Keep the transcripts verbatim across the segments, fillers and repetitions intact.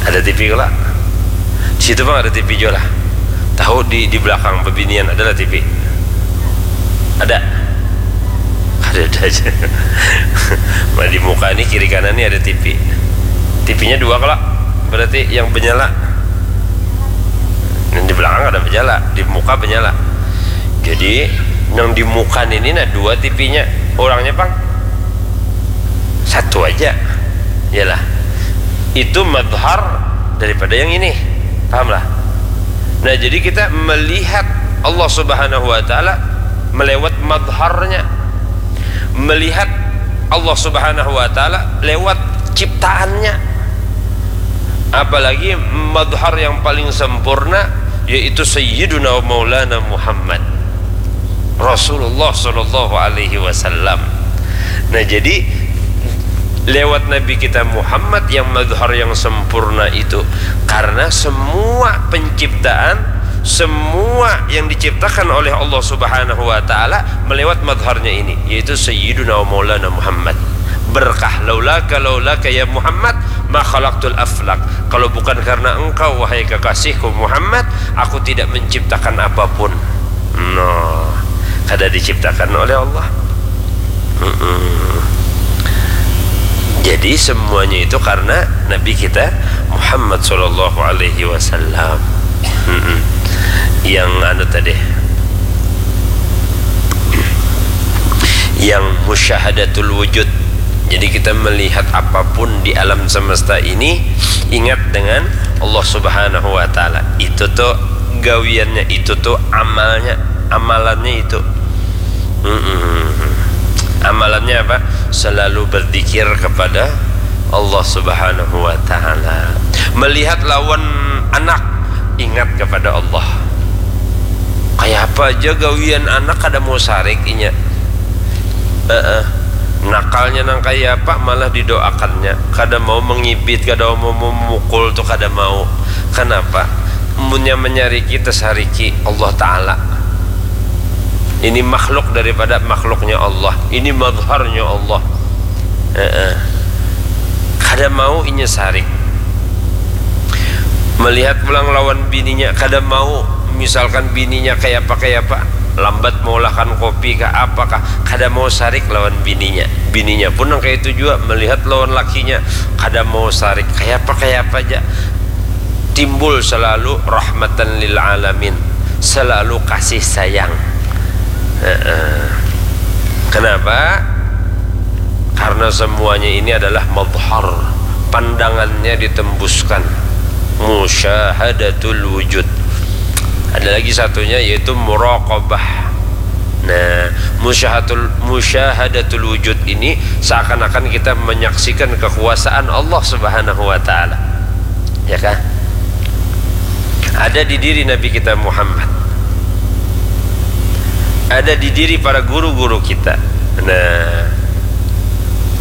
Ada T V kala. Di situ pang ada T V jua lah. Tahu di, di belakang bebinian ada lah T V. Ada. Ada-ada aja. Nah, di muka ni kiri kanan ni ada T V. T V-nya dua kala. Berarti yang benyala. Yang di belakang ada benyala, di muka benyala. Jadi yang di muka ini nah dua T V-nya. Orangnya pang satu aja. Yalah. Itu madhar daripada yang ini. Pahamlah? Nah, jadi kita melihat Allah Subhanahu wa taala melewat madharnya. Melihat Allah Subhanahu wa taala lewat ciptaannya. Apalagi madhar yang paling sempurna yaitu Sayyiduna wa Maulana Muhammad Rasulullah sallallahu alaihi wasallam. Nah, jadi lewat Nabi kita Muhammad yang madhar yang sempurna itu, karena semua penciptaan, semua yang diciptakan oleh Allah Subhanahu wa taala melewat madharnya ini, yaitu Sayyiduna wa Maulana Muhammad. Berkah, laulaka, laulaka ya Muhammad, ma khalaqtul aflak. Kalau bukan karena engkau, wahai kekasihku Muhammad, aku tidak menciptakan apapun. Nah, kada diciptakan oleh Allah. Mm-mm. Jadi semuanya itu karena Nabi kita Muhammad sallallahu alaihi wasallam. Mm-mm. Yang anu tadi, yang musyahadatul wujud. Jadi kita melihat apapun di alam semesta ini, ingat dengan Allah Subhanahu wa taala. Itu tuh gawiannya, itu tuh amalnya, amalannya itu. Mm-mm. Amalannya apa? Selalu berzikir kepada Allah Subhanahu wa taala. Melihat lawan anak, ingat kepada Allah. Kayak apa aja gawian anak kada mau sarik inya. Heeh. Nakalnya nang kayak apa malah didoakannya. Kada mau mengibit, kada mau memukul tuh kada mau. Kenapa? Munnya menyariki, tersariki Allah Ta'ala. Ini makhluk daripada makhluknya Allah. Ini madharnya Allah. Heeh. Kada mau inya sarik. Melihat pulang lawan bininya, kada mau. Misalkan bininya kayak apa, kayak apa, lambat maulahkan kopi kah, apakah, kada mau sarik lawan bininya. Bininya pun nang kayak itu juga, melihat lawan lakinya, kada mau sarik, kayak apa, kayak apa aja. Timbul selalu rahmatan lil alamin, selalu kasih sayang. Heeh. Kenapa? Karena semuanya ini adalah madhar, pandangannya ditembuskan. Musyahadatul wujud. Ada lagi satunya yaitu muraqabah. Nah, musyahadatul, musyahadatul wujud ini seakan-akan kita menyaksikan kekuasaan Allah Subhanahu wa taala. Ya kan? Ada di diri Nabi kita Muhammad. Ada di diri para guru-guru kita. Nah,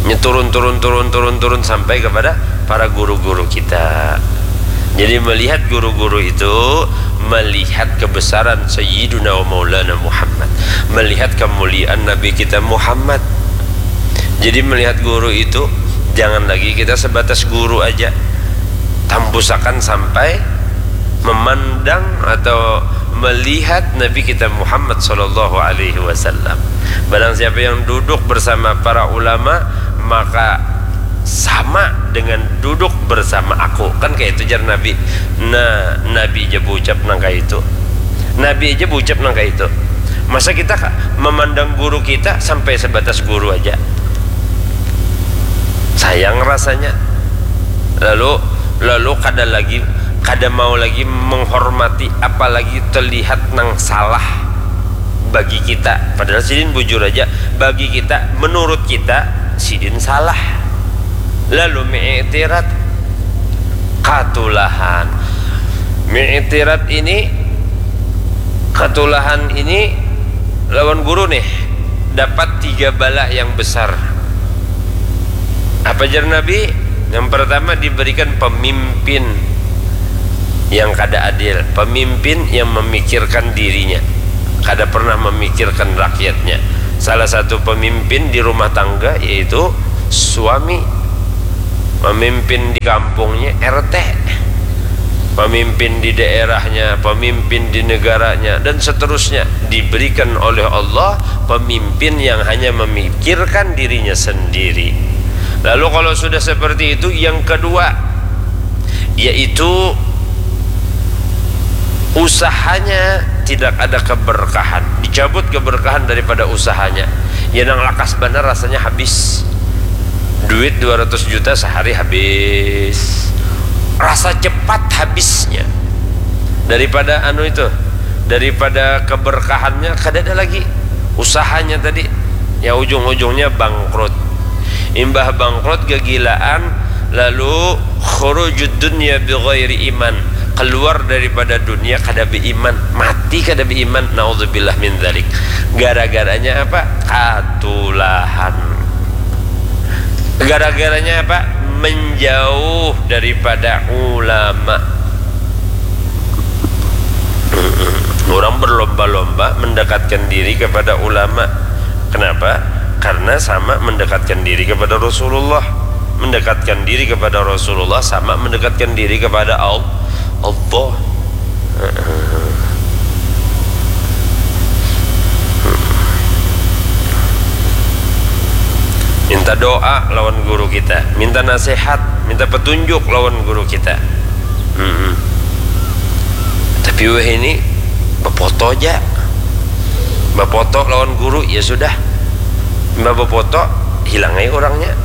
ini turun, turun, turun, turun, turun sampai kepada para guru-guru kita. Jadi melihat guru-guru itu, melihat kebesaran Sayyiduna wa Maulana Muhammad, melihat kemuliaan Nabi kita Muhammad. Jadi melihat guru itu, jangan lagi kita sebatas guru aja, tambusakan sampai memandang atau melihat Nabi kita Muhammad sallallahu alaihi wasallam. Barang siapa yang duduk bersama para ulama, maka sama dengan duduk bersama aku. Kan kayak itu jar Nabi. Nah, Nabi aja bucap nang kayak itu. Nabi aja bucap nang kayak itu. Masa kita memandang guru kita sampai sebatas guru aja? Sayang rasanya. Lalu, lalu kada lagi, kada mau lagi menghormati, apalagi terlihat nang salah bagi kita. Padahal sidin bujur aja, bagi kita, menurut kita, sidin salah. Lalu mi'tirat, katulahan. Mi'tirat ini, katulahan ini lawan guru nih, dapat tiga bala yang besar. Apa jar Nabi? Yang pertama, diberikan pemimpin yang kada adil, pemimpin yang memikirkan dirinya, kada pernah memikirkan rakyatnya. Salah satu pemimpin di rumah tangga yaitu suami, memimpin di kampungnya R T. pemimpin di daerahnya, pemimpin di negaranya, dan seterusnya, diberikan oleh Allah pemimpin yang hanya memikirkan dirinya sendiri. Lalu kalau sudah seperti itu, yang kedua, yaitu usahanya tidak ada keberkahan, dicabut keberkahan daripada usahanya. Ya, nang lakas banar rasanya habis. Duit dua ratus juta sehari habis. Rasa cepat habisnya. Daripada anu itu, daripada keberkahannya kada ada lagi. Usahanya tadi, ya, ujung-ujungnya bangkrut. Imbah bangkrut, gegilaan, lalu khurujud dunya bi ghairi iman, keluar daripada dunia kada beiman, mati kada beiman, naudzubillah min dzalik. Gara-garanya apa? Katulahan. Gara-garanya apa? Menjauh daripada ulama. Orang berlomba-lomba mendekatkan diri kepada ulama. Kenapa? Karena sama mendekatkan diri kepada Rasulullah. Mendekatkan diri kepada Rasulullah sama mendekatkan diri kepada Al-, Allah. Minta doa lawan guru kita, minta nasihat, minta petunjuk lawan guru kita. Mm-mm. Tapi wahini bapoto ja. Bapoto lawan guru, ya sudah. Mbah bapoto, hilang ai orangnya.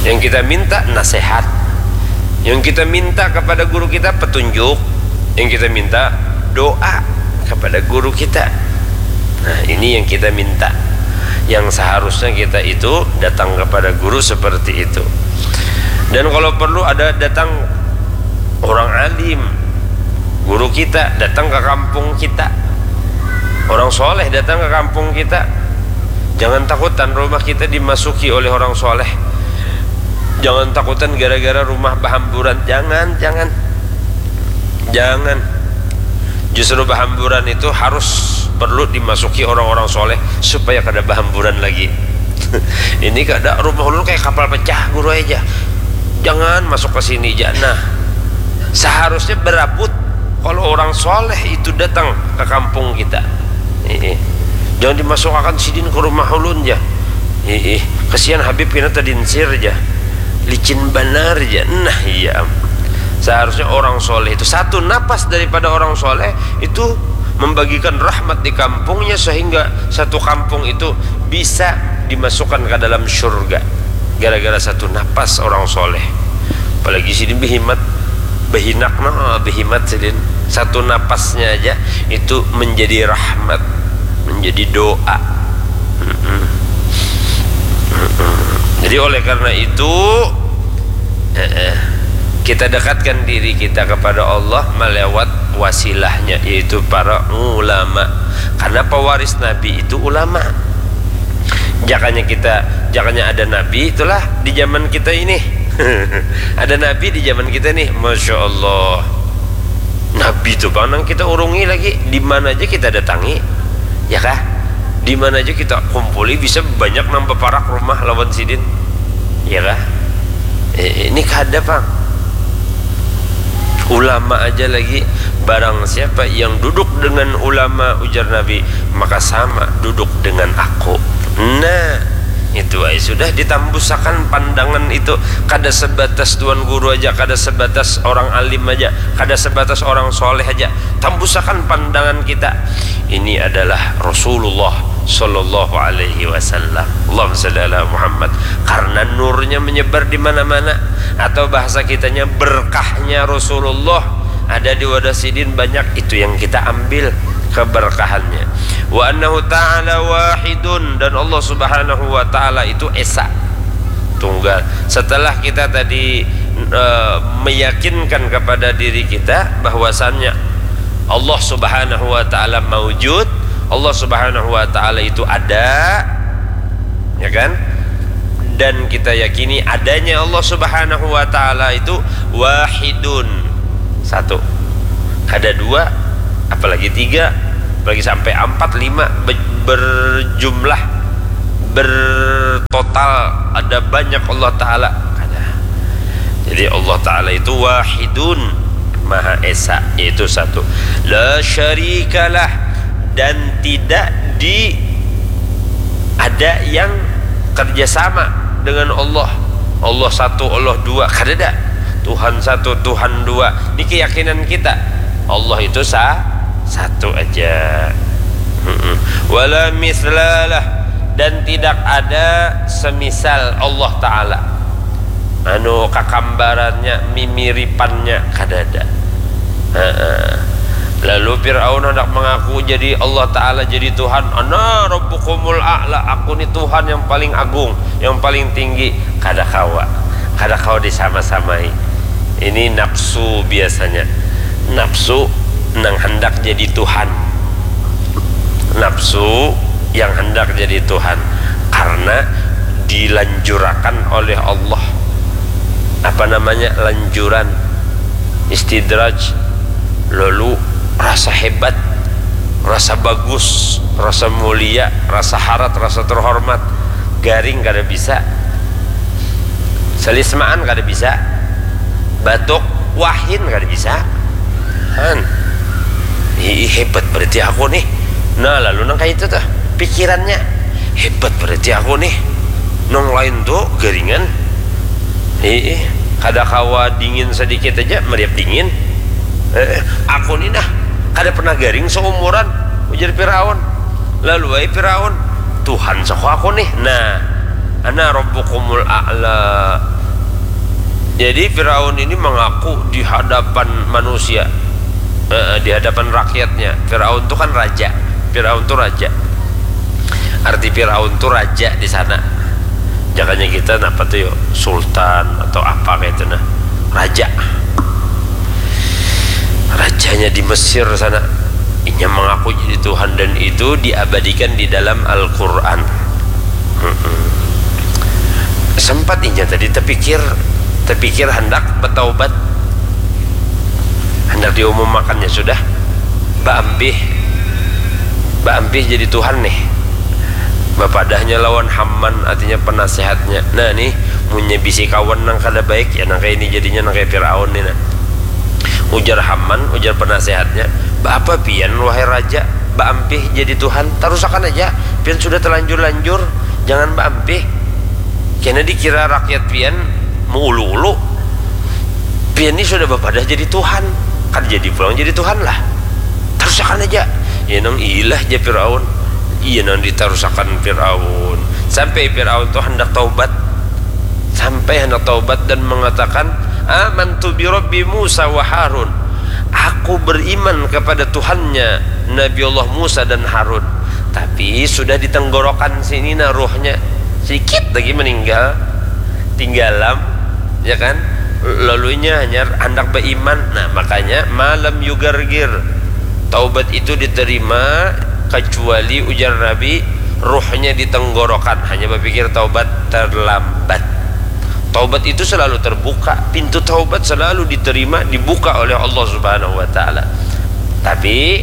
Yang kita minta nasihat. Yang kita minta kepada guru kita petunjuk. Yang kita minta doa kepada guru kita. Nah, ini yang kita minta. Yang seharusnya kita itu datang kepada guru seperti itu. Dan kalau perlu ada datang orang alim, guru kita datang ke kampung kita. Orang soleh datang ke kampung kita. Jangan takutan rumah kita dimasuki oleh orang soleh. Jangan takutan gara-gara rumah bahamburan. Jangan, jangan. Jangan. Justru bahamburan itu harus perlu dimasuki orang-orang soleh supaya kada bahamburan lagi. Ini kada, rumah ulun kayak kapal pecah, guru aja. Jangan masuk ke sini, ja. Nah, seharusnya berabut kalau orang soleh itu datang ke kampung kita. Ih, jangan dimasukakan sidin ke rumah ulun, ja. Ih, kasihan Habib kena tadinsir, ja. Licin banar, ja. Nah, iya. Seharusnya orang soleh itu, satu napas daripada orang soleh itu membagikan rahmat di kampungnya, sehingga satu kampung itu bisa dimasukkan ke dalam syurga gara-gara satu napas orang soleh. Apalagi sidin behimat, behinak, no, behimat sidin. Satu napasnya aja itu menjadi rahmat, menjadi doa. Mm-mm. Mm-mm. Jadi, oleh karena itu, eh, eh, kita dekatkan diri kita kepada Allah melewat wasilahnya, yaitu para ulama. Karena pewaris Nabi itu ulama. Jakanya kita, jakanya ada Nabi, itulah di zaman kita ini. Ada Nabi di zaman kita nih, Masya Allah. Nabi itu pang nang kita urungi lagi, di mana aja kita datangi, ya kah? Di mana aja kita kumpuli, bisa banyak nang baparak rumah lawan sidin, ya kah? Eh, ini kada pang. Ulama aja lagi, barang siapa yang duduk dengan ulama, ujar Nabi, maka sama duduk dengan aku. Nah, itu ai sudah ditambusakan pandangan itu, kada sebatas tuan guru aja, kada sebatas orang alim aja, kada sebatas orang soleh aja, tambusakan pandangan kita. Ini adalah Rasulullah sallallahu alaihi wasallam. Allahumma shalli ala Muhammad. Karena nurnya menyebar di mana-mana, atau bahasa kitanya berkahnya Rasulullah ada di wadah sidin banyak, itu yang kita ambil keberkahannya. Wa annahu ta'ala wahidun, dan Allah Subhanahu wa taala itu esa, tunggal. Setelah kita tadi, eh, meyakinkan kepada diri kita bahwasannya Allah Subhanahu wa taala maujud, Allah Subhanahu wa taala itu ada, ya kan? Dan kita yakini adanya Allah Subhanahu wa taala itu wahidun, satu. Kada dua, apalagi tiga, apalagi sampai empat, lima, be-, berjumlah, bertotal, ada banyak Allah taala. Jadi Allah Ta'ala itu wahidun, Maha Esa, yaitu satu. La syarikalah, dan tidak di ada yang kerjasama dengan Allah. Allah satu, Allah dua, kadada. Tuhan satu, Tuhan dua. Ini keyakinan kita. Allah itu sa satu aja. Mm-mm. Wala mislalah, dan tidak ada semisal Allah Ta'ala. Anu, kakambarannya, mimiripannya, kadada. Heeh. Lalu Fir'aun hendak mengaku jadi Allah Ta'ala, jadi Tuhan. Ana rabbukumul a'la, aku ni Tuhan yang paling agung, yang paling tinggi. Kada kawa. Kada kawa disama-samai. Ini nafsu biasanya. Nafsu nang hendak jadi Tuhan. Nafsu yang hendak jadi Tuhan. Karena dilanjurakan oleh Allah. Apa namanya? Lanjuran. Istidraj. Lalu rasa hebat, rasa bagus, rasa mulia, rasa harat, rasa terhormat. Garing kada bisa. Salismaan kada bisa. Batuk, wahin kada bisa. Han. Ih, hebat berarti aku nih. Nah, lalu nang kayak itu tuh pikirannya. Hebat berarti aku nih. Nang lain tuh garingan. Ih, kada kawa dingin sedikit aja, meriap dingin. Eh, aku nih nah, kada pernah garing seumuran, ujar Firaun. Lalu ai Firaun, Tuhan soko aku nih. Nah, ana rabbukumul a'la. Jadi Firaun ini mengaku di hadapan manusia, eh, di hadapan rakyatnya. Firaun tuh kan raja. Firaun tuh raja. Arti Firaun tuh raja di sana. Jakanya kita napa tuh yo, sultan atau apa kayak itu nah. Raja. Rajanya di Mesir sana. Inya mengaku jadi Tuhan dan itu diabadikan di dalam Al-Quran. Mm-mm. Sempat inya tadi terpikir, terpikir hendak bertaubat, hendak diumumkannya sudah, baampih, baampih jadi Tuhan nih. Bapadahnya lawan Haman, artinya penasehatnya. Nah nih, munnya bisi kawan nang kada baik, ya nang kayak ini jadinya, nang kayak Firaun nih nah. Ujar Haman, ujar penasehatnya, "Baapa pian, wahai raja, baampih jadi Tuhan? Tarusakan aja, pian sudah terlanjur-lanjur, jangan baampih. Kena dikira rakyat pian meulu-ulu. Pian ni sudah bapadah jadi Tuhan, kada jadi pulang jadi Tuhan lah. Tarusakan aja." Ya nang ilah ja Firaun. Iya nang ditarusakan Firaun. Sampai Firaun tuh hendak taubat. Sampai hendak taubat dan mengatakan, "Amantu bi Rabbi Musa wa Harun." Aku beriman kepada Tuhannya Nabi Allah Musa dan Harun. Tapi sudah di tenggorokan sini nah ruhnya. Sedikit lagi meninggal. Tinggalam, ya kan? Lalunya hanya hendak beriman. Nah, makanya malam yugargir. Taubat itu diterima kecuali ujar Nabi, ruhnya di tenggorokan, hanya berpikir taubat terlambat. Taubat itu selalu terbuka, pintu taubat selalu diterima, dibuka oleh Allah Subhanahu wa taala. Tapi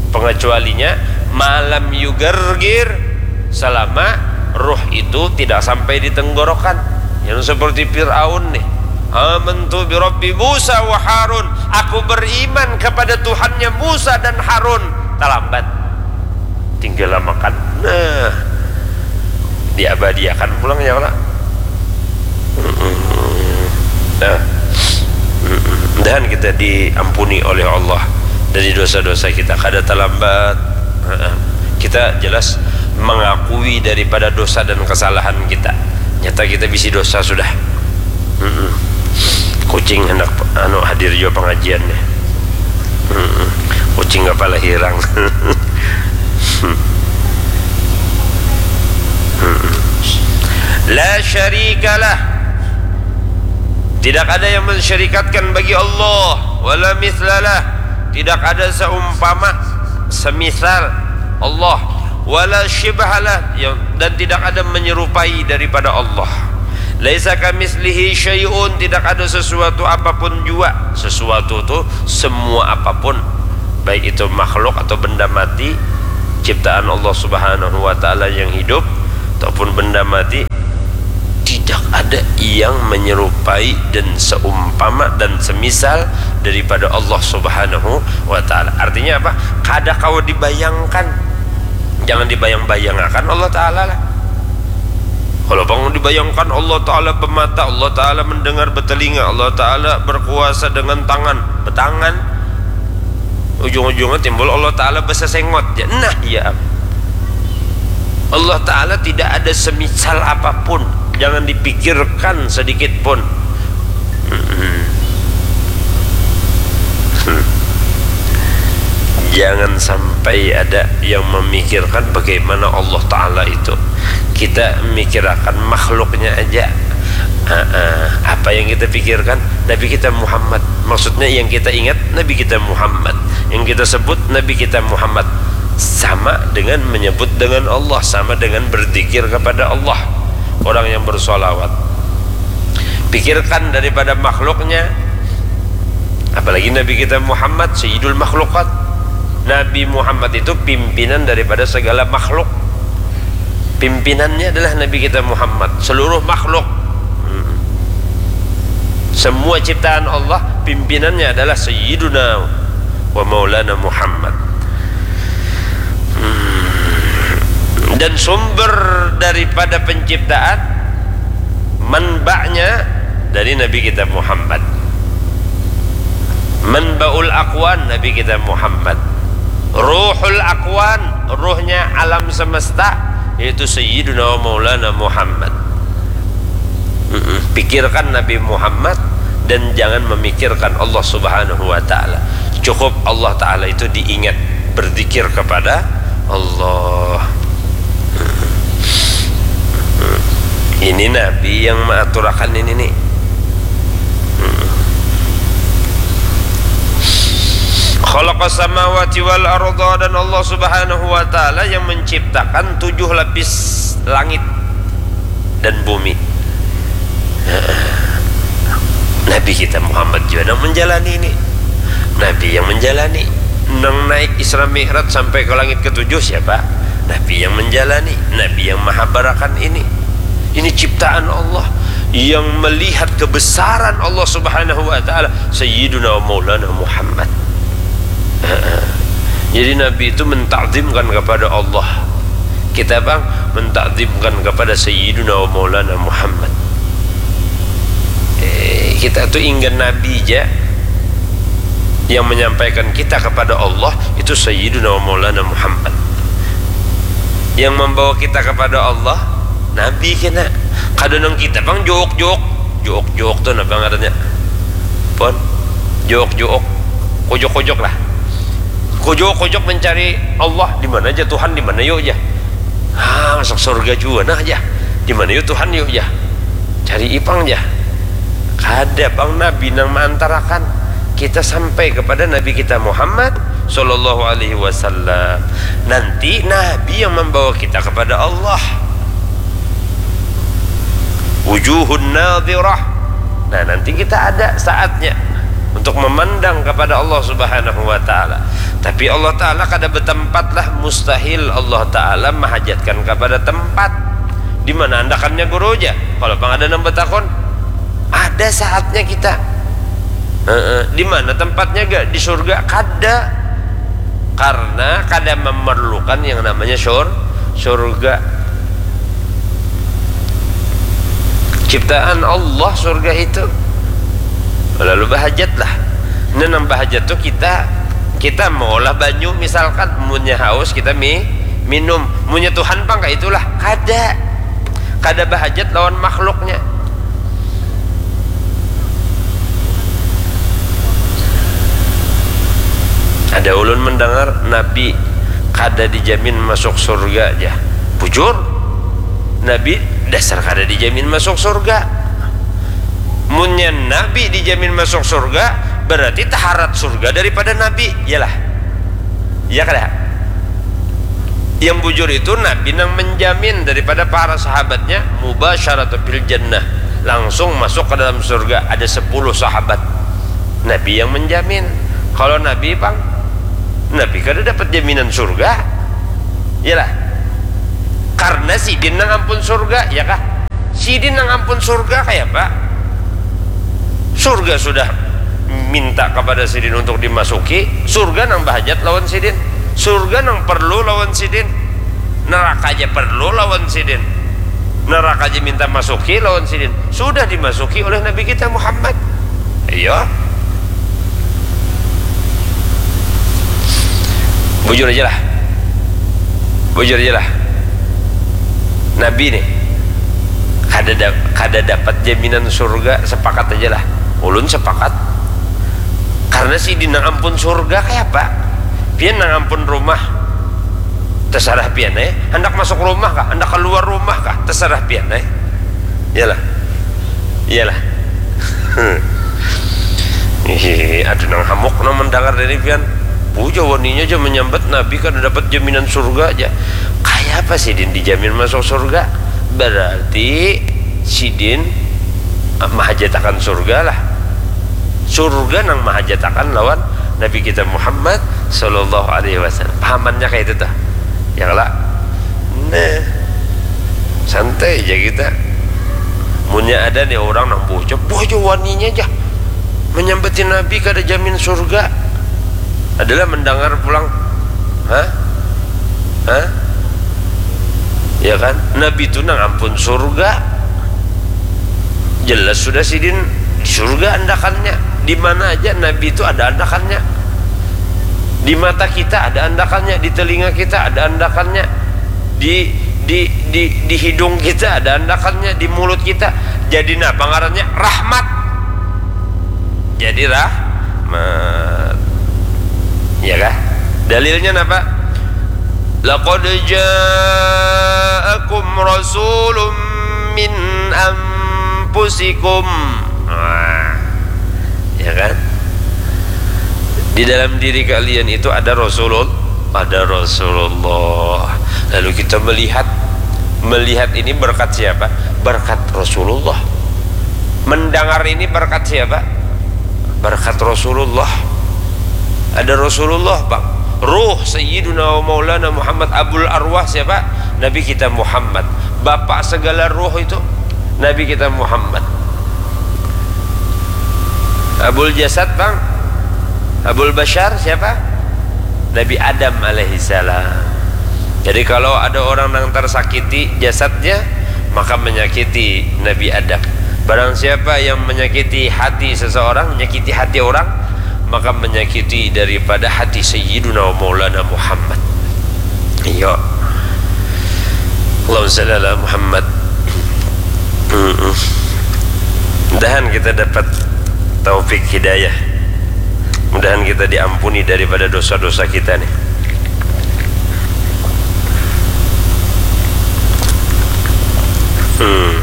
pengecualinya malam yugargir, selama ruh itu tidak sampai di tenggorokan. Yang seperti Firaun nih. "Amantu bi Rabbi Musa wa Harun." Aku beriman kepada Tuhannya Musa dan Harun. Terlambat. Tinggal makan. Nah, diabadiakan pulang ya lah. Nah, mudahan kita diampuni oleh Allah dari dosa-dosa kita. Kada terlambat. Kita jelas mengakui daripada dosa dan kesalahan kita. Nyata kita bisi dosa sudah. Kucing hendak anu hadir juga pengajian nih. Kucing kepala hirang. La syarikalah. Tidak ada yang mensyarikatkan bagi Allah. Wala mislalah. Tidak ada seumpama, semisal Allah. Wala syibhalah, yang, dan tidak ada menyerupai daripada Allah. Laisa kamislihi syai'un, tidak ada sesuatu apapun juga. Sesuatu tu semua apapun, baik itu makhluk atau benda mati, ciptaan Allah Subhanahu wa taala yang hidup ataupun benda mati, tidak Ada yang menyerupai dan seumpama dan semisal daripada Allah Subhanahu wa Ta'ala. Artinya apa? Kada kawa dibayangkan. Jangan dibayang-bayangakan Allah Ta'ala lah. Kalau bang dibayangkan Allah Ta'ala bemata, Allah Ta'ala mendengar, betelinga, Allah Ta'ala berkuasa dengan tangan, betangan, ujung-ujungnya timbul Allah Ta'ala besesengot. Ya, nah, ya. Allah Ta'ala tidak ada semisal apapun. Jangan dipikirkan sedikit pun. Jangan sampai ada yang memikirkan bagaimana Allah Ta'ala itu. Kita mikirakan makhluknya aja. Apa yang kita pikirkan? Nabi kita Muhammad. Maksudnya yang kita ingat Nabi kita Muhammad. Yang kita sebut Nabi kita Muhammad. Sama dengan menyebut dengan Allah, sama dengan berzikir kepada Allah. Orang yang bersolawat. Pikirkan daripada makhluknya, apalagi Nabi kita Muhammad, Sayyidul Makhlukat. Nabi Muhammad itu pimpinan daripada segala makhluk. Pimpinannya adalah Nabi kita Muhammad, seluruh makhluk. Hmm. Semua ciptaan Allah, pimpinannya adalah Sayyiduna wa Maulana Muhammad. Hmm. Dan sumber daripada penciptaan, manba'nya dari Nabi kita Muhammad. Manba'ul akwan Nabi kita Muhammad. Ruhul akwan, ruhnya alam semesta, yaitu Sayyiduna wa Maulana Muhammad. Mm-mm. Pikirkan Nabi Muhammad dan jangan memikirkan Allah Subhanahu wa Ta'ala. Cukup Allah Ta'ala itu diingat, berzikir kepada Allah. Ini Nabi yang mengaturakan ini nih. Khalaqas samawati wal arda, dan Allah Subhanahu wa Ta'ala yang menciptakan tujuh lapis langit dan bumi. Nabi kita Muhammad juga nang menjalani ini. Nabi yang menjalani. Nang naik Isra Mi'raj sampai ke langit ketujuh siapa? Nabi yang menjalani. Nabi yang mahabarakan ini. Ini ciptaan Allah. Yang melihat kebesaran Allah Subhanahu wa Ta'ala, Sayyiduna wa Maulana Muhammad. Jadi Nabi itu mentakzimkan kepada Allah. Kita bang mentakzimkan kepada Sayyiduna wa Maulana Muhammad. Eh, kita tu inggan Nabi ja. Yang menyampaikan kita kepada Allah itu Sayyiduna wa Maulana Muhammad. Yang membawa kita kepada Allah Nabi kena. Kada nang kita bang jook-jook. Jook-jook tu napa ngarannya? Pon. Jook-jook. Kojok-kojok lah. Kojok-kojok mencari Allah, di mana aja Tuhan, di mana yuk aja. Ah, masuk surga juga nah aja. Di mana yuk Tuhan yuk aja. Cari ipang aja. Kada pang Nabi nang maantarakan kita sampai kepada Nabi kita Muhammad sallallahu alaihi wasallam. Nanti Nabi yang membawa kita kepada Allah. Wujuhun nadirah. Nah, nanti kita ada saatnya untuk memandang kepada Allah Subhanahu wa Ta'ala. Tapi Allah Ta'ala kada bertempat lah, mustahil Allah Ta'ala mahajatkan kepada tempat. Di mana andakannya guru aja? Kalau pang ada nang betakon, ada saatnya kita. Heeh. Di mana tempatnya gak? Di surga? Kada. Karena kada memerlukan yang namanya sur surga. Ciptaan Allah surga itu. Lalu bahajat lah. Nah, nang bahajat tuh kita kita mau lah banyu misalkan, munnya haus kita mi minum, munnya Tuhan pang kayak itulah, kada kada bahajat lawan makhluknya. Ada ulun mendengar Nabi kada dijamin masuk surga aja. Bujur, Nabi dasar kada dijamin masuk surga. Munnya Nabi dijamin masuk surga, berarti taharat surga daripada Nabi, iyalah. Iya kada? Yang bujur itu Nabi nang menjamin daripada para sahabatnya mubasyaratan fil jannah, langsung masuk ke dalam surga. Ada sepuluh sahabat Nabi yang menjamin. Kalau Nabi pang, Nabi kada dapat jaminan surga, iyalah. Karena sidin nang ampun surga, ya kah? Sidin nang ampun surga kayapa? Surga sudah minta kepada sidin untuk dimasuki, surga nang bahajat lawan sidin, surga nang perlu lawan sidin, neraka aja perlu lawan sidin, neraka aja minta masuki lawan sidin, sudah dimasuki oleh Nabi kita Muhammad. Iya. Bujur aja lah. Bujur aja lah. Nabi nih kada da- kada dapat jaminan surga, sepakat aja lah. Ulun sepakat. Karena sidin nang ampun surga kayapa? Pian nang ampun rumah, terserah pian eh. Hendak masuk rumah kah? Hendak keluar rumah kah? Terserah pian eh. Iyalah. Iyalah. Hihihi, ada nang hamuk nang mendengar dari pian. Puja waninya aja menyambat Nabi kada dapat jaminan surga aja. Kayapa sidin dijamin masuk surga? Berarti sidin mahajatakan surga lah. Surga nang mahajatakan lawan Nabi kita Muhammad sallallahu alaihi wasallam. Pahamannya kayak itu tuh. Ya lah. Nah, santai aja kita. Munnya ada nih orang nang bocah, bocah waninya aja menyambatin Nabi kada jamin surga. Adalah mendengar pulang, hah? Hah? Ya kan? Nabi itu nang ampun surga. Jelas sudah sidin di surga andakannya. Di mana aja Nabi itu ada andakannya. Di mata kita ada andakannya, di telinga kita ada andakannya, di di di di hidung kita ada andakannya, di mulut kita. Jadi napa ngarannya? Rahmat. Jadi rahmat. Ya kah? Dalilnya napa? Laqad ja'akum rasulun min anfusikum. Nah, ya kan? Di dalam diri kalian itu ada Rasulul-, ada Rasulullah. Lalu kita melihat, melihat ini berkat siapa? Berkat Rasulullah. Mendengar ini berkat siapa? Berkat Rasulullah. Ada Rasulullah, Bang. Ruh Sayyiduna wa Maulana Muhammad, Abul Arwah siapa? Nabi kita Muhammad. Bapak segala ruh itu Nabi kita Muhammad. Abul Jasad, Bang. Abul Bashar siapa? Nabi Adam alaihissalam. Jadi kalau ada orang yang tersakiti jasadnya, maka menyakiti Nabi Adam. Barang siapa yang menyakiti hati seseorang, menyakiti hati orang, maka menyakiti daripada hati Sayyiduna wa Maulana Muhammad. Iya. Allahumma salli ala Muhammad. Mm-mm. Mudahan kita dapat taufik hidayah. Mudahan kita diampuni daripada dosa-dosa kita nih. Hmm.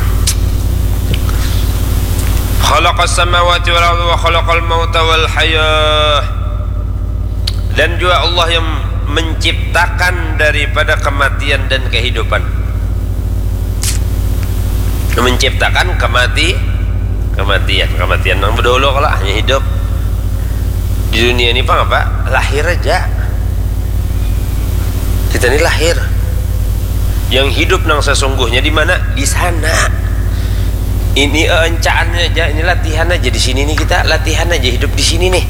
Khalaqas samawati wal arda wa khalaqal mauta wal hayah. Dan juga Allah yang menciptakan daripada kematian dan kehidupan. Menciptakan kemati, kematian, kematian nang bedahulu kalau hanya hidup. Di dunia ini pang apa? Lahir aja. Kita ini lahir. Yang hidup nang sesungguhnya di mana? Di sana. Ini, eh, encaannya aja, ini latihan aja di sini nih kita, latihan aja hidup di sini nih.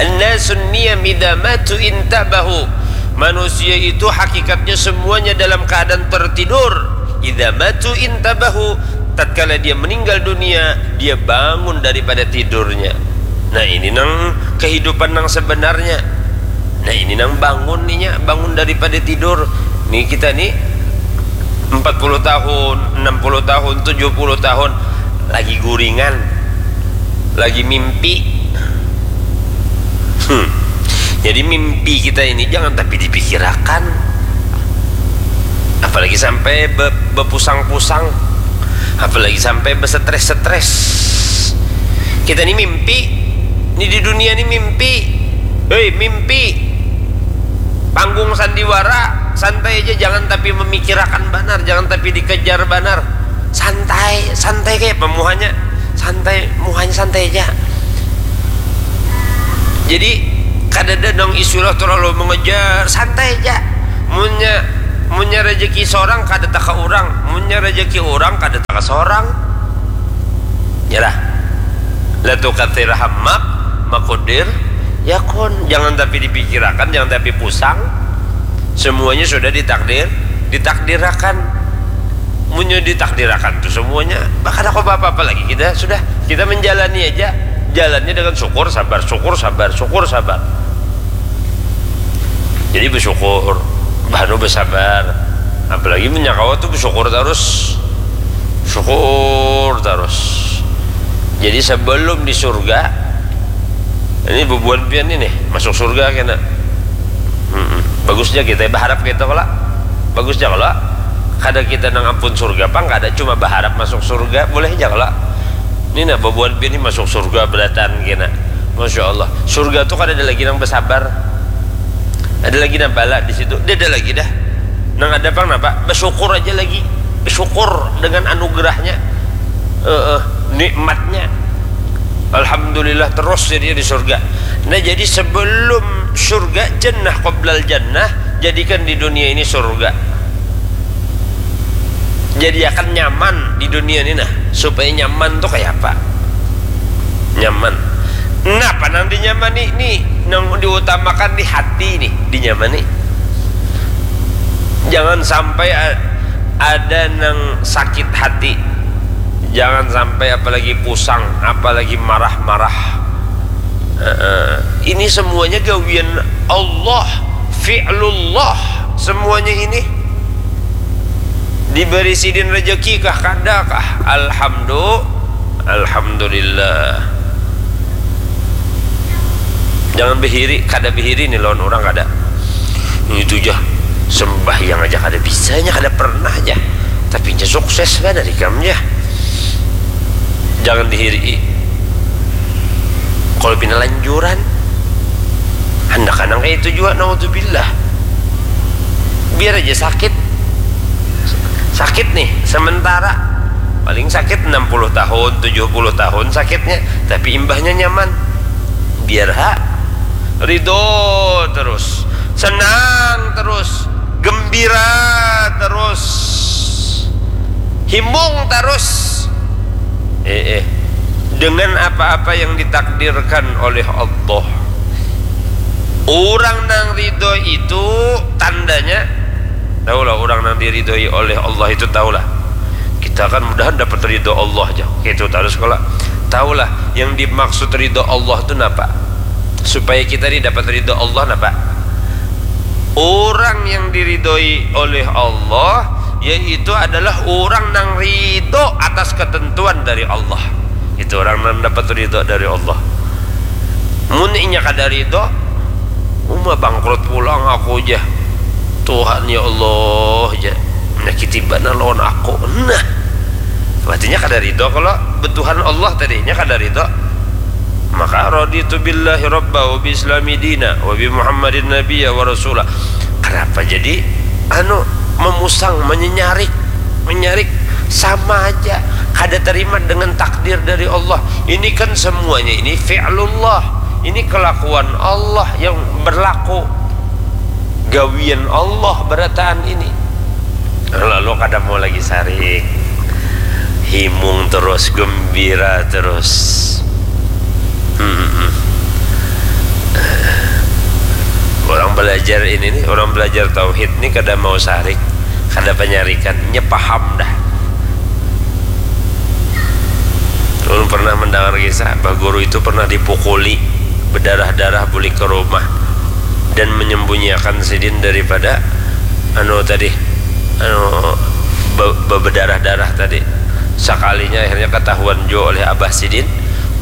An-nasun niyam idza matu intabahu. Manusia itu hakikatnya semuanya dalam keadaan tertidur. Idza matu intabahu. Tatkala dia meninggal dunia, dia bangun daripada tidurnya. Nah, ini nang kehidupan nang sebenarnya. Nah, ini nang bangun ninya, bangun daripada tidur. Nih kita nih empat puluh tahun, enam puluh tahun, tujuh puluh tahun lagi guringan, lagi mimpi. Hmm. Jadi mimpi kita ini jangan tapi dipikirakan. Apalagi sampai be- bepusang-pusang. Apalagi sampai besetres-setres. Kita ini mimpi. Ini di dunia ini mimpi. Hei, mimpi. Panggung sandiwara, santai aja, jangan tapi memikirakan banar, jangan tapi dikejar banar. Santai, santai kayak apa muhanya? Santai, muhanya santai aja. Jadi kadada nang istilah terlalu mengejar, santai aja. Munnya Munnya rejeki sorang kada taka urang, munnya rejeki urang kada taka sorang. Yalah. La tukathir hammak makudir yakun. Jangan tapi dipikirakan, jangan tapi pusang. Semuanya sudah ditakdir, ditakdirakan. Munnya ditakdirakan tu semuanya, kada apa-apa lagi kita sudah, kita menjalani aja. Jalannya dengan syukur, sabar, syukur, sabar, syukur, sabar. Jadi bersyukur, baru bersabar. Apalagi menyakawa tuh bersyukur terus, syukur terus. Jadi sebelum di surga, ini bubuhan pian ini masuk surga kena. Mm-mm. Bagusnya kita berharap gitu kalau bagusnya kalau kada kita nang ampun surga pang kada cuma berharap masuk surga boleh aja kalau ini nah bubuhan pian ini masuk surga berataan kena. Masya Allah. Surga tuh kan ada lagi nang bersabar. Ada lagi nang bala di situ. Dia ada lagi dah. Nang ada pang napa? Bersyukur aja lagi. Bersyukur dengan anugerahnya. Eh, eh, nikmatnya. Alhamdulillah terus jadi di surga. Nah, jadi sebelum surga jannah qoblal jannah, jadikan di dunia ini surga. Jadi akan nyaman di dunia ini nah. Supaya nyaman tuh kayak apa? Nyaman. Napa nang dinyamani nih? Nang diutamakan di hati nih, dinyamani. Jangan sampai a-, ada nang sakit hati. Jangan sampai apalagi pusang, apalagi marah-marah. Eh, eh. Ini semuanya gawian Allah, fi'lullah. Semuanya ini diberi sidin rezeki kah kada kah? Alhamdulillah. Alhamdulillah. Jangan behiri, kada behiri nih lawan orang kada. Ini tuh jah sembahyang aja kada bisanya, kada pernah aja. Tapi nya sukses kan dari kam jah. Jangan dihiri. Kalau pina lanjuran, hendak kanang kayak itu juga, naudzubillah. Biar aja sakit. Sakit nih sementara. Paling sakit enam puluh tahun, tujuh puluh tahun sakitnya, tapi imbahnya nyaman. Biar ha ridho terus, senang terus, gembira terus, himung terus. Eh, eh. Dengan apa-apa yang ditakdirkan oleh Allah. Orang nang ridho itu tandanya, tahulah orang nang diridhoi oleh Allah itu tahulah. Kita kan mudahan dapat ridho Allah aja. Itu terus kalau tahulah yang dimaksud ridho Allah itu napa? Supaya kita ini dapat ridho Allah napa? Orang yang diridhoi oleh Allah yaitu adalah orang nang ridho atas ketentuan dari Allah. Itu orang nang dapat ridho dari Allah. Mun inya kada ridho, uma bangkrut pulang aku ja. Tuhan ya Allah ja, menyakiti banar lawan aku. Nah, berarti nya kada ridho kalau betuhan Allah tadi, nya kada ridho. Maka raditu billahi rabba wa bi islami dina wa bi Muhammadin nabiyya wa rasula. Kenapa jadi anu memusang, menyenyarik, menyarik sama aja kada terima dengan takdir dari Allah. Ini kan semuanya ini fi'lullah. Ini kelakuan Allah yang berlaku. Gawian Allah berataan ini. Lalu kada mau lagi sarik. Himung terus, gembira terus. Hmm. Orang belajar ini nih, orang belajar tauhid nih kada mau sarik, kada penyarikan, nya paham dah. Ulun pernah mendengar kisah, bah guru itu pernah dipukuli bedarah-darah bulik ke rumah dan menyembunyikan sidin daripada anu tadi, anu be- be- bedarah-darah tadi. Sekalinya akhirnya ketahuan jo oleh abah sidin,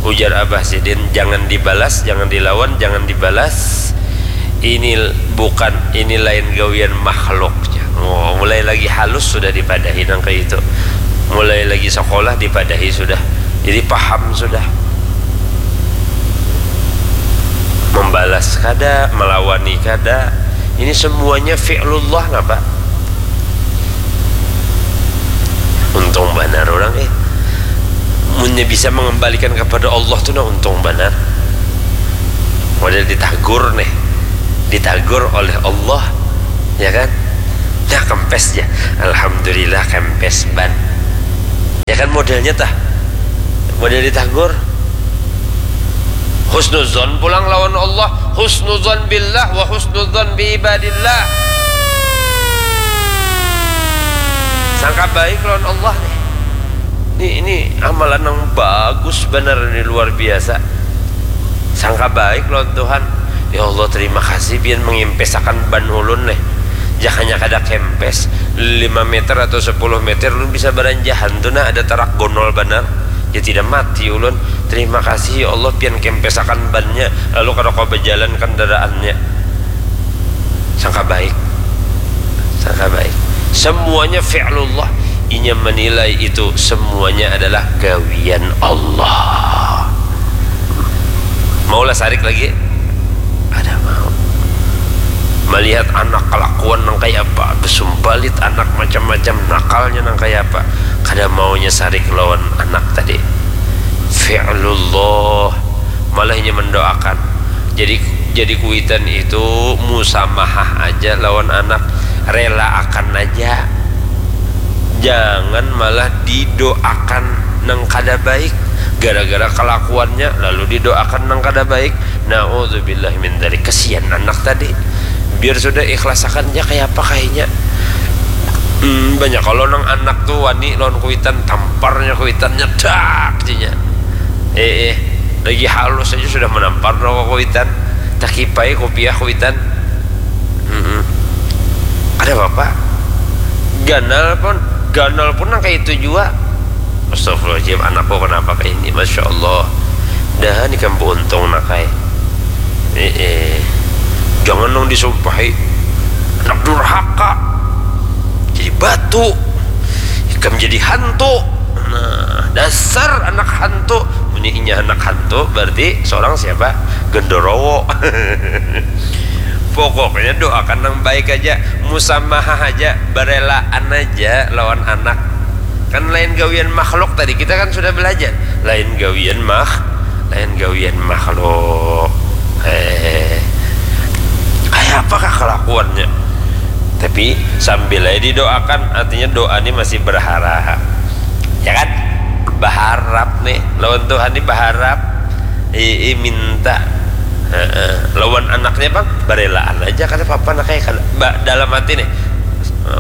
ujar abah sidin, jangan dibalas, jangan dilawan, jangan dibalas. Ini bukan, ini lain gawian makhluk. Oh, mulai lagi halus sudah dipadahi nang kayak itu. Mulai lagi sekolah dipadahi sudah. Jadi paham sudah. Membalas kada, melawani kada. Ini semuanya fi'lullah napa? Untung banar orang eh. Munnya bisa mengembalikan kepada Allah tuh nah untung banar. Model ditagur nih. Ditagur oleh Allah, ya kan? Kempes ja. Alhamdulillah kempes ban. Ya kan modelnya tah. Model ditagur. Husnuzon pulang lawan Allah, husnuzon billah wa husnuzon bi ibadillah. Sangka baik lawan Allah nih. Ini, ini amalan yang bagus benar, ini luar biasa. Sangka baik lawan Tuhan. Ya Allah, terima kasih pian mengimpesakan ban ulun nih. Jakanya kada kempes, lima meter atau sepuluh meter ulun bisa baranjahan tuh nah, ada tarak gonol banar. Ya tidak mati ulun. Terima kasih ya Allah, pian kempesakan bannya. Lalu kada kawa bajalan kendaraannya. Sangka baik. Sangka baik. Semuanya fi'lullah. Inya menilai itu semuanya adalah gawian Allah. Maulah sarik lagi? Kada mau. Melihat anak kelakuan nang kaya apa, besumbalit anak macam-macam, nakalnya nang kaya apa, kada maunya sarik lawan anak tadi. Fi'lullah. Malah inya mendoakan. Jadi, jadi kuitan itu musamahah aja lawan anak, rela akan aja. Jangan malah didoakan nang kada baik. Gara-gara kelakuannya lalu didoakan nang kada baik. Naudzubillah min dzalik. Kesian anak tadi. Biar sudah ikhlasakan ja kaya apa kayanya. Hmm, banyak kalau nang anak tuh wani lawan kuitan, tamparnya kuitannya dak jinya. Eh, eh, lagi halus aja sudah menampar dong kuitan. Takipai kupiah kuitan. Mm-mm. Ada apa-apa. Ganal pun, ganal pun nang kayak itu juga. Astagfirullahaladzim, anakku kenapa kayak ini? Masya Allah. Dah, ini kan beruntung nak kayak. Eh, eh. Jangan dong disumpahi. Anak durhaka. Jadi batu. Ikam jadi hantu. Nah, dasar anak hantu. Muni inya anak hantu, berarti seorang siapa? Gendorowo. Pokoknya doakan yang baik aja, musamahah aja, berelaan aja lawan anak. Kan lain gawian makhluk tadi, kita kan sudah belajar. Lain gawian mak-, lain gawian makhluk. Eh, kayak apakah kelakuannya? Tapi sambil aja didoakan, artinya doa ini masih berharap. Ya kan? Berharap nih, lawan Tuhan ini berharap. I, i, minta. Heeh. Lawan anaknya, Bang, berelaan aja, kada apa-apa, nak, kayak kada. Ba-, dalam hati nih.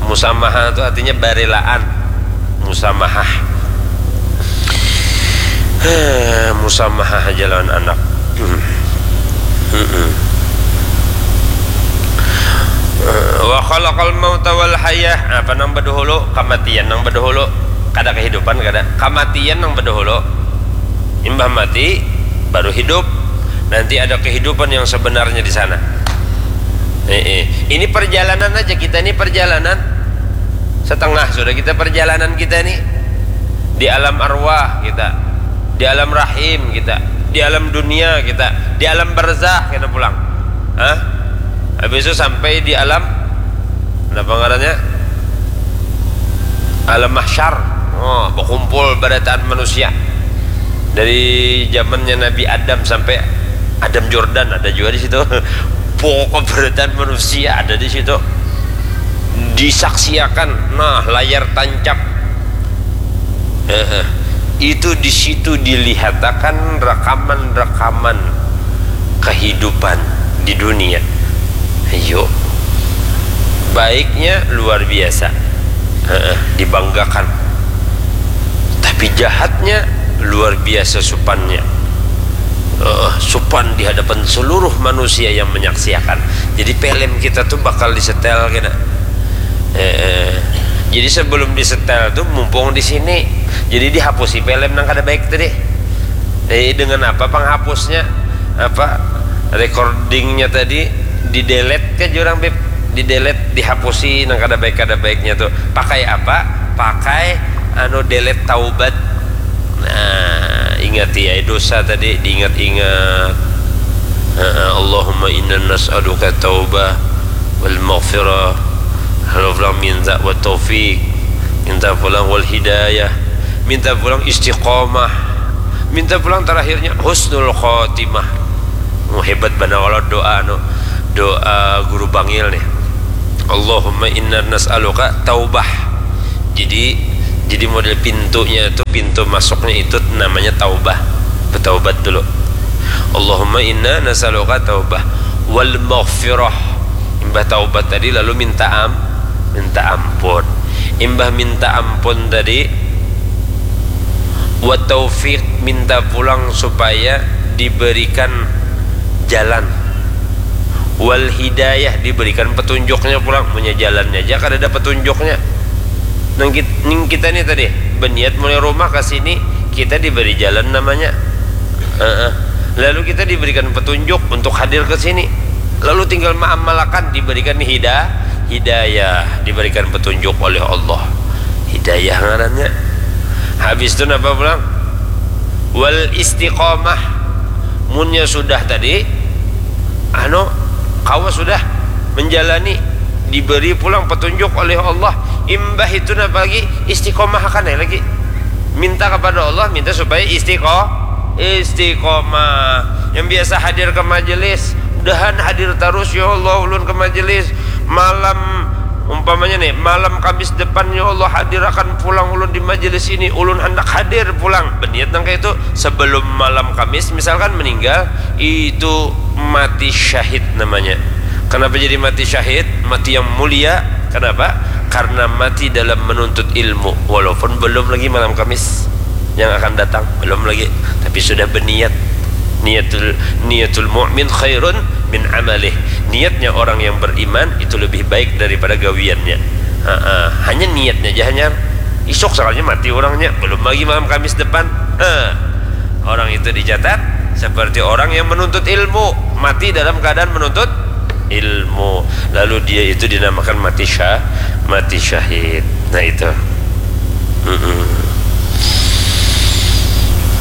Musamaha itu artinya berelaan. Musamahah. Heh, musamahah aja lawan anak. Hmm. Mm-mm. Eh, wa khalaqal mauta wal hayah. Apa nang baduhulu? Kamatian nang baduhulu. Kada kehidupan, kada. Kamatian nang baduhulu. Imbah mati, baru hidup. Nanti ada kehidupan yang sebenarnya di sana. Eh, eh. Ini perjalanan aja, kita ini perjalanan. Setengah sudah kita perjalanan kita ini. Di alam arwah kita. Di alam rahim kita. Di alam dunia kita. Di alam barzah kita pulang. Hah? Habis itu sampai di alam, apa ngarannya? Alam mahsyar. Oh, berkumpul barataan manusia. Dari zamannya Nabi Adam sampai Adam Jordan ada juga di situ. Pokok barataan manusia ada di situ. Disaksiakan, nah, layar tancap. Heeh. Itu di situ dilihatakan rekaman-rekaman kehidupan di dunia. Ayo. Baiknya luar biasa. Heeh, dibanggakan. Tapi jahatnya luar biasa supannya. Heeh, supan di hadapan seluruh manusia yang menyaksiakan. Jadi film kita tuh bakal disetel kena. Heeh. Jadi sebelum disetel tuh mumpung di sini. Jadi dihapusi film nang kada baik tadi. Eh, dengan apa penghapusnya? Apa recordingnya tadi di-delete ke jurang, Bib? Di-delete, dihapusi nang kada baik, kada baiknya tuh. Pakai apa? Pakai anu delete taubat. Nah, ingati ai dosa tadi, diingat-ingat. Heeh, Allahumma inna nas'aluka taubah wal maghfirah. Lalu pulang minta wa taufik, minta pulang wal hidayah, minta pulang istiqomah, minta pulang terakhirnya husnul khotimah. Oh, hebat banar kalau doa anu, doa guru bangil nih. Allahumma inna nas'aluka taubah. Jadi jadi model pintunya itu, pintu masuknya itu namanya taubah. Bertaubat dulu. Allahumma inna nas'aluka taubah wal maghfirah. Imbah taubat tadi lalu minta am minta ampun. Imbah minta ampun tadi wa taufiq, minta pulang supaya diberikan jalan, wal hidayah, diberikan petunjuknya pulang. Punya jalannya aja kada ada petunjuknya. Nang kita ni tadi berniat mulai rumah ke sini, kita diberi jalan namanya. Lalu kita diberikan petunjuk untuk hadir ke sini, lalu tinggal mengamalkan, diberikan hida hidayah, diberikan petunjuk oleh Allah. Hidayah ngarannya. Habis itu napa pulang? Wal istiqomah. Munnya sudah tadi, anu, kawa sudah menjalani, diberi pulang petunjuk oleh Allah. Imbah itu napa lagi? Istiqomah akan lagi. Minta kepada Allah, minta supaya istiqo istiqomah. Yang biasa hadir ke majelis, mudahan hadir terus, ya Allah, ulun ke majelis. Malam, umpamanya nih, malam Kamis depan, ya Allah, hadirakan pulang ulun di majelis ini. Ulun hendak hadir pulang. Berniat nang kayak itu sebelum malam Kamis, misalkan, meninggal, itu mati syahid namanya. Kenapa jadi mati syahid? Mati yang mulia. Kenapa? Karena mati dalam menuntut ilmu, walaupun belum lagi malam Kamis yang akan datang, belum lagi, tapi sudah berniat. Niatul niatul mu'min khairun min amalih. Niatnya orang yang beriman itu lebih baik daripada gawiannya. Ha-ha. Hanya niatnya aja, hanya isuk sekalinya mati orangnya, belum lagi malam Kamis depan. Ha. Orang itu dicatat seperti orang yang menuntut ilmu, mati dalam keadaan menuntut ilmu, lalu dia itu dinamakan mati syah mati syahid. Nah, itu. Mm-mm.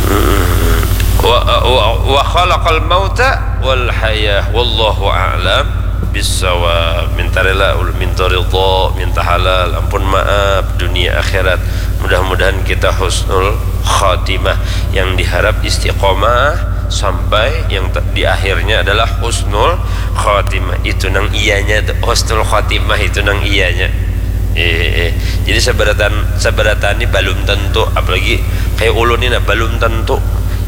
Mm-mm. Wa, wa, wa khalaqal mauta wal hayah, wallahu a'lam bissawab. Minta rela, minta ridha, minta halal, ampun maaf, dunia akhirat. Mudah-mudahan kita husnul khatimah, yang diharap istiqomah sampai yang di akhirnya adalah husnul khatimah. Itu nang iyanya tu, husnul khatimah itu nang iyanya. Eh, eh. Jadi seberatan seberatan ini belum tentu, apalagi kayak ulun ini, nah, belum tentu.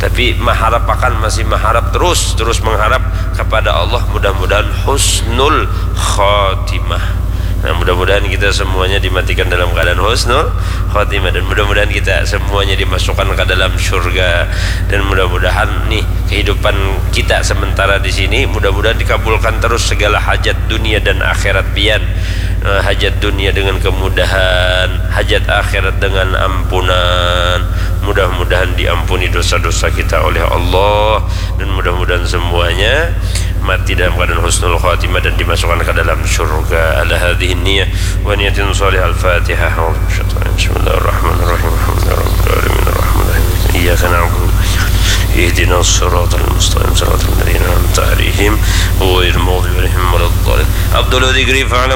Tapi mengharapkan, masih mengharap terus, terus mengharap kepada Allah, mudah-mudahan husnul khatimah. Nah, mudah-mudahan kita semuanya dimatikan dalam keadaan husnul khatimah, dan mudah-mudahan kita semuanya dimasukkan ke dalam surga, dan mudah-mudahan nih kehidupan kita sementara di sini, mudah-mudahan dikabulkan terus segala hajat dunia dan akhirat pian. Eh, hajat dunia dengan kemudahan, hajat akhirat dengan ampunan. Mudah-mudahan diampuni dosa-dosa kita oleh Allah, dan mudah-mudahan semuanya mati dalam keadaan husnul khatimah dan dimasukkan ke dalam surga. Ala hadhihi niyah wa niyatin salihah. Al-Fatihah. Bismillahirrahmanirrahim. Alhamdulillahirabbil alamin. Arrahmanirrahim. Iyyaka na'budu wa iyyaka nasta'in. Ihdinas siratal mustaqim. Siratal ladzina an'amta 'alaihim ghairil maghdubi 'alaihim waladdallin. Afdalu dzikri fa'ala